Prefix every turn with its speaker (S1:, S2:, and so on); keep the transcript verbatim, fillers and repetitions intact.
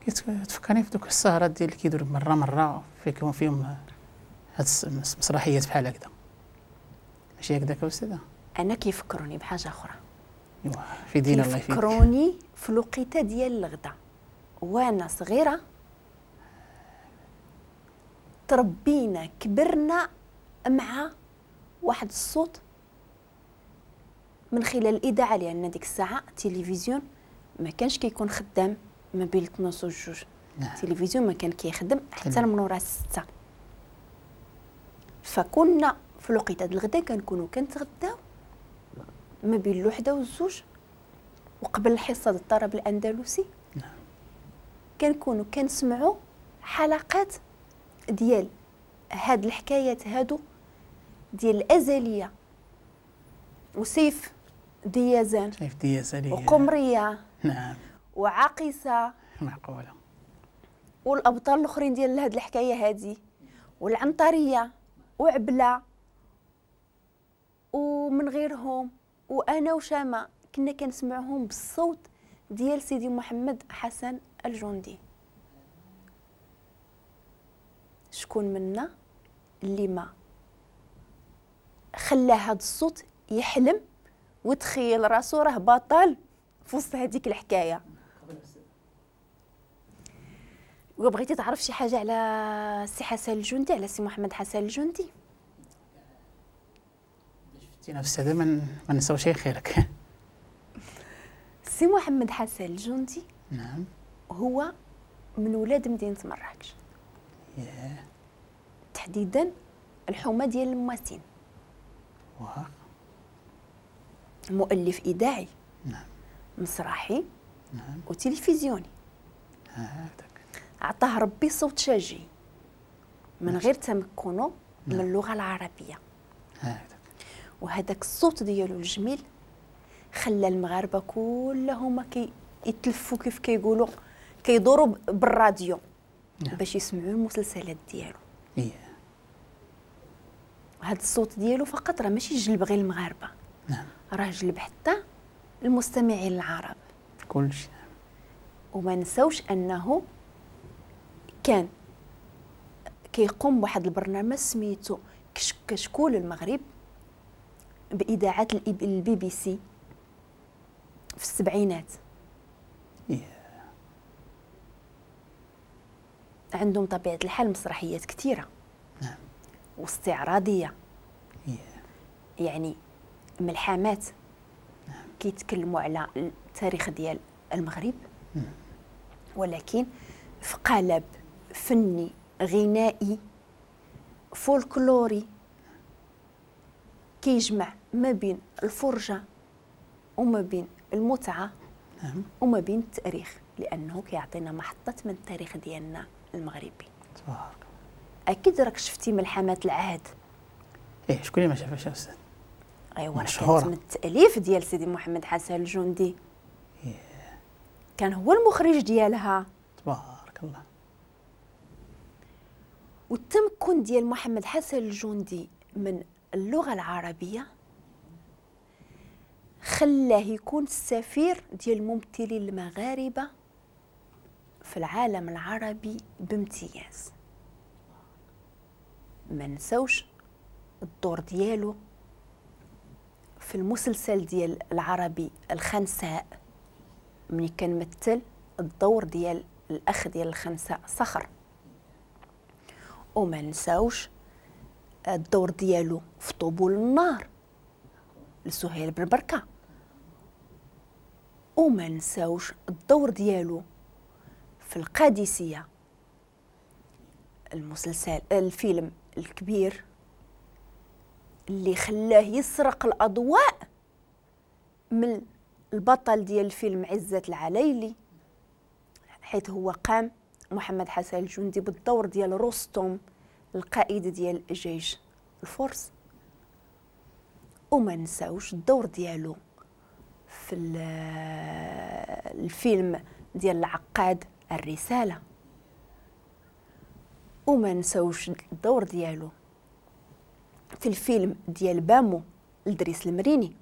S1: كتفكرني في دوك السهرات ديال اللي كيديروا مرة مرة فيكم فيهم هاد المسرحيات بحال هكذا، ماشي هكذاك أستاذة؟
S2: أنا كيفكروني بحاجة أخرى.
S1: إيوا في دين الله يفيدك.
S2: كيفكروني في الوقيته ديال الغدا وأنا صغيرة، تربينا كبرنا مع واحد الصوت من خلال الإذاعة، لأن ديك الساعة التلفزيون ما كانش كيكون خدام ما بين اثناش وجوج.
S1: نعم.
S2: التلفزيون ما كان كيخدم حتى من ورا الستة، فكنا في الوقيته ديال الغدا كنكونوا كنتغداو ما بين الوحدة والزوج، وقبل الحصة ديال الطرب الأندلسي.
S1: نعم.
S2: كنكونوا كنسمعوا حلقات ديال هاد الحكايات هادو ديال الأزلية وسيف ديازان،
S1: سيف ديازان
S2: وقمرية.
S1: نعم.
S2: وعاقسة.
S1: معقولة.
S2: والأبطال الآخرين ديال هاد الحكاية هادي، والعنطرية وعبلة ومن غيرهم، وأنا وشامة كنا كنسمعهم بالصوت ديال سيدي محمد حسن الجندي. شكون منا اللي ما خلى هاد الصوت يحلم وتخيل راسو راه بطل في وسط هذيك الحكاية؟ وبغيتي تعرف شي حاجة على سي حسن الجندي، على سي محمد حسن الجندي؟
S1: شفتينا في السادة ما نساو شي خيرك.
S2: سي محمد حسن الجندي.
S1: نعم.
S2: هو من ولاد مدينة مراكش.
S1: yeah.
S2: تحديدا الحومه ديال المواسين.
S1: واه.
S2: مؤلف إذاعي.
S1: نعم.
S2: مسرحي.
S1: نعم.
S2: وتلفزيوني.
S1: هكذاك.
S2: عطاه ربي صوت شجي من غير تمكنه.
S1: نعم.
S2: من اللغة العربية.
S1: هكذاك.
S2: وهذاك الصوت ديالو الجميل خلى المغاربة كلهم كي يتلفوا كيف كيقولوا كيدوروا بالراديو.
S1: نعم.
S2: باش يسمعوا المسلسلات ديالو.
S1: إيه.
S2: هذا الصوت ديالو فقط راه ماشي جلب غير المغاربة.
S1: نعم.
S2: راه جلب حتى المستمعين العرب.
S1: كلشي.
S2: وما نساوش انه كان كيقوم بواحد البرنامج سميتو كشكول المغرب بإذاعة البي بي سي في السبعينات.
S1: إيه.
S2: عندهم طبيعة الحال مسرحيات كثيرة.
S1: نعم.
S2: واستعراضية.
S1: إيه.
S2: يعني ملحمات.
S1: نعم.
S2: كيتكلموا على التاريخ ديال المغرب.
S1: نعم.
S2: ولكن في قالب فني غنائي فولكلوري كيجمع ما بين الفرجة وما بين المتعة.
S1: نعم.
S2: وما بين التاريخ، لأنه كيعطينا محطة من التاريخ ديالنا المغربي.
S1: تبارك.
S2: أكيد راك شفتي ملحمات العهد.
S1: إيه، شكون اللي ما شافهاش أستاذ؟
S2: أيوا، كانت من التأليف ديال سيدي محمد حسن الجندي.
S1: إيه.
S2: كان هو المخرج ديالها.
S1: تبارك الله.
S2: والتمكن ديال محمد حسن الجندي من اللغة العربية خلاه يكون السفير ديال الممثلين المغاربة في العالم العربي بامتياز. ما نساوش الدور ديالو في المسلسل ديال العربي الخنساء، ملي كان مثل الدور ديال الأخ ديال الخنساء صخر. وما نساوش الدور ديالو في طبول النار لسهيل بالبركة. وما نساوش الدور ديالو في القادسية، المسلسل الفيلم الكبير اللي خلاه يسرق الأضواء من البطل ديال الفيلم عزت العليلي، حيث هو قام محمد حسن الجندي بالدور ديال رستم القائد ديال جيش الفرس. وما نساوش الدور ديالو في الفيلم ديال العقاد الرسالة. وما نساوش الدور ديالو في الفيلم ديال بامو لدريس المريني.